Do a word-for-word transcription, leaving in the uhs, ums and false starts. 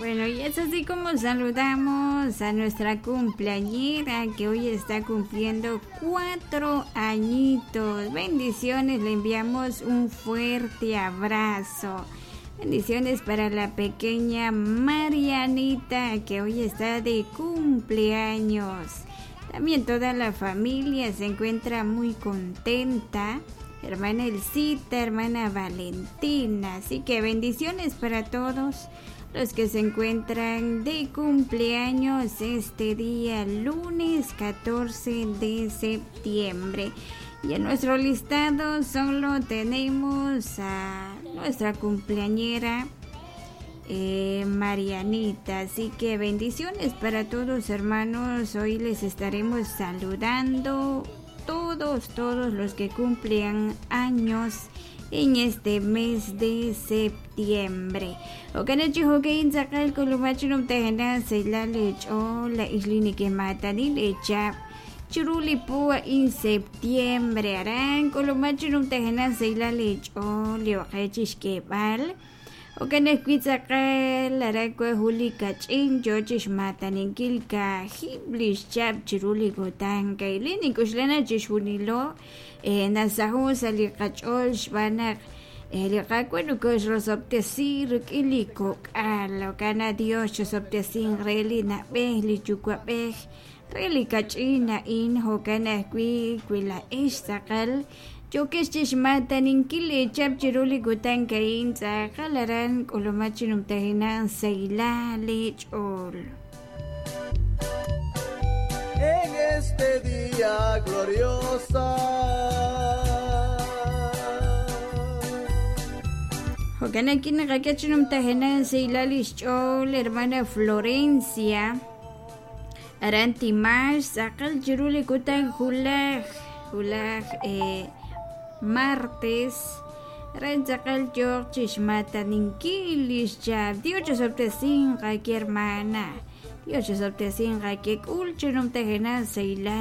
Bueno, y es así como saludamos a nuestra cumpleañera que hoy está cumpliendo cuatro añitos. Bendiciones, le enviamos un fuerte abrazo. Bendiciones para la pequeña Marianita que hoy está de cumpleaños. También toda la familia se encuentra muy contenta. Hermana Elcita, hermana Valentina. Así que bendiciones para todos los que se encuentran de cumpleaños este día lunes catorce de septiembre. Y en nuestro listado solo tenemos a nuestra cumpleañera eh, Marianita. Así que bendiciones para todos, hermanos. Hoy les estaremos saludando todos, todos los que cumplen años en este mes de septiembre. Okanachi hokein tzakal kulumachinum tehena seilale la islini que matani lecha chiruli pua in septiembre aran kulumachinum tehena seilale liokechixkebal okanehkuitzakal arakue juli kach'in yochix mataninkil kajib lixchap chiruli kutan kailin ikuxlana chixjunilo nasahu sa li qach'ol xb'anaq li qak'wan nukoxrosob'tesi rik'in li kok'al okana Dios chosob'tesin re li nab'ej li yuwa'b'ej re li kach'in a'in jo'kan ajwi' wila'ex tz'aqal yokex chixmataninkil echap chiruli kutan ka'in tz'aqal aran k'ulumach chinumtajinan seilal ch'ol. En este día glorioso. Jo'kan aquí naqak'e chinumtajinan seilal ixch'ol hermana Florencia aran Timax tz'aqal chiruli kutan julaj julaj eh, martes ren tz'aqal yoq chixmataninkil ixchap Dios chosob'tesin qaki hermana Dios chosob'tesin qaki k'ul chinumtajinan seilal.